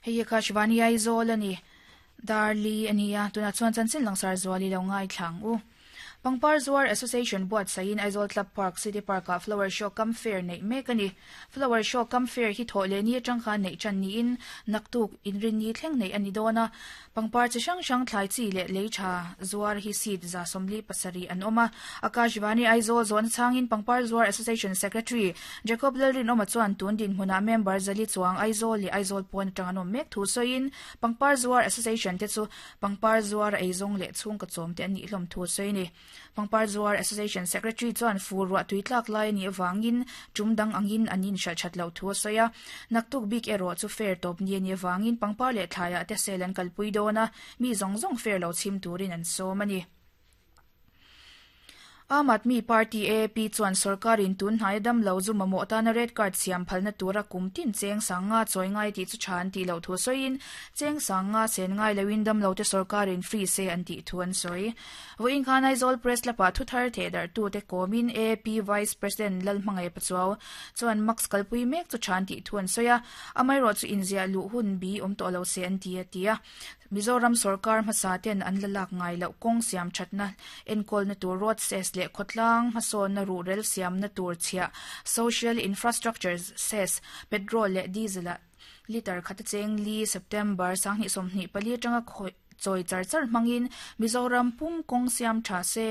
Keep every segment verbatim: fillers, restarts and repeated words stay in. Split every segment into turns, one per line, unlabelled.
Hei Akashvani Aizawl ani Darli ania tuna chuan chanchin langsar zuali lo ngai thlang u. Pangpar Zuar Association buat sain Aizawl Club Park City Park a Flower Show Kam Fair nei mek ani. Flower Show Kam Fair hi tho le ni atang kha nei chan ni in naktuk inrin ni thleng nei ani dona. Pangpar chi hrang hrang thlai chi le lei tha zuar hi seat za somli pasari an oma. Akashvani Aizawl zon changin Pangpar Zuar Association Secretary Jacob Lalrin oma chuan tun din hmuna member zali chuang Aizawl le Aizawl pawn atang an awm mek thu sawiin Pangpar Zuar Association te chu Pangpar Zuar eizawng leh chhung ka chawm te an nih hlawm thu sawi ni. Pangpar Zuar Association Secretary chuan fur ruah tui tlak lai ani awangin tum dang angin anin hral that lo thu sawi a. Naktuk bik erawh chu fair tawp ni ani awangin pangpar leh thlaiah te sel an kalpui dawna mi zawng zawng fair lo chhim turin an sawm ani. Aam Aadmi Party A A P chuan sarkarin tun hnai dam lo zu mamawh tana red card siam phalna tura kum tin cheng sanga chawi ngai tih chu tha an tih loh thu sawiin cheng sanga sen ngai loin dam lo te sarkarin free se an tih thu an sawi. Vawiin khan Aizawl Press lapa thu thar theh darh tu te kawmin A A P Vice President Lalhmangaih Pachuau chuan max kalpui mek chu tha an tih thu an sawi a. Amaherawh chu inziah luh hun bi awm tawh lo se an ti a ti a. Mizoram sarkar hmasa ten an la lak ngai loh kawng siam thatna enkawl na tur road cess leh khawtlang hmasawn na ruhrel siam na tur chhiah social infrastructure cess petrol leh diesel a liter khata cheng li September sanghnih sawmhnih pali atanga chawi char char hmangin Mizoram pum kawng siam tha se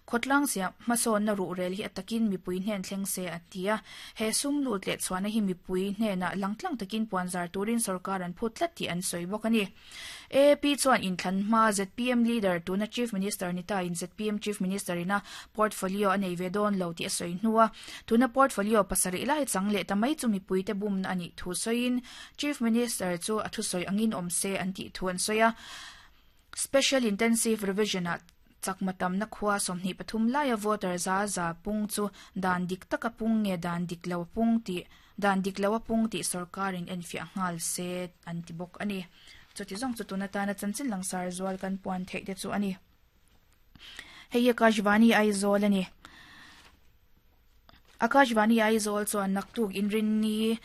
khawtlang siam hmasawn na ruhrel hi atakin mipui hnen thleng se a ti a. He sum lut leh chhuahna hi mipui hnenah langtlang takin puanzar turin sarkar an phut tlat tih an sawi bawk ani. A A P chuan inthlan hma Z P M leader tuna Chief Minister nita in Z P M Chief Minister ina portfolio a nei ve dawn lo tih a sawi hnua. Tuna portfolio pasarih lai chang leh ta mai chu mipui te bum na ani thu sawiin Chief Minister chu a thu sawi angin awm se an tih thu an sawi a. Special Intensive Revision a chakmatam na khua sawmhnih pathum laia voter za za pung chu dan dik taka pung nge dan dik lo pung tih dan dik lo a pung tih sarkarin enfiah nghal se an ti bawk ani. Chuti zawng chu tuna tana chanchin langsar zual kan puan theih te chu ani. Hei Akashvani Aizawl ani. Akashvani Aizawl chuan naktuk inrin ni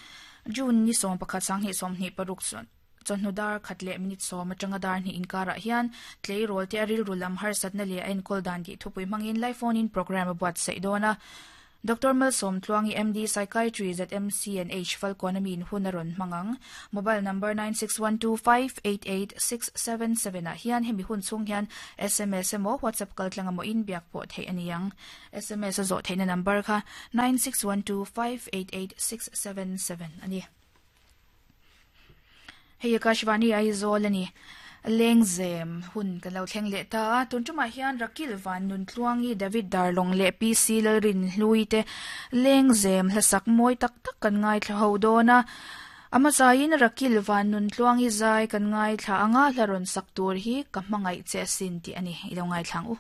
June ni sawm pakhat sanghnih sawmhnih paruk chuan chawhnu dar khat leh minute sawm atanga dar hnih inkarah hian tleirawl te a rilru lam harsatna leh a enkawl dan tih thupui hmangin live phone in program a buat saih dawn a. Doctor Malsom Tluangi M D Psychiatry Z M C and H Falcon ami in hun a rawn hmangang. Mobile number nine six one two five eight eight six seven seven ah hian hemi hun chhung hian S M S emaw WhatsApp kaltlang emaw in biak pawh theih ani ang. S M S a zawh theihna number kha nine six one two five eight eight six seven seven ani. Hei Akashvani Aizawl ani. Lengzem hun kan lo thleng leh ta a. Tun tumah hian Rakil Van Nun Tluangi David Darlong leh P C Lalrin Hlui te lengzem hlasak mawi tak tak kan ngai thla ho dawn a. Ama zaiin Rakil Van Nun Tluangi zai kan ngai thla anga hla rawn sak tur hi ka hmangaih che sin tih ani. I lo ngai thlang u.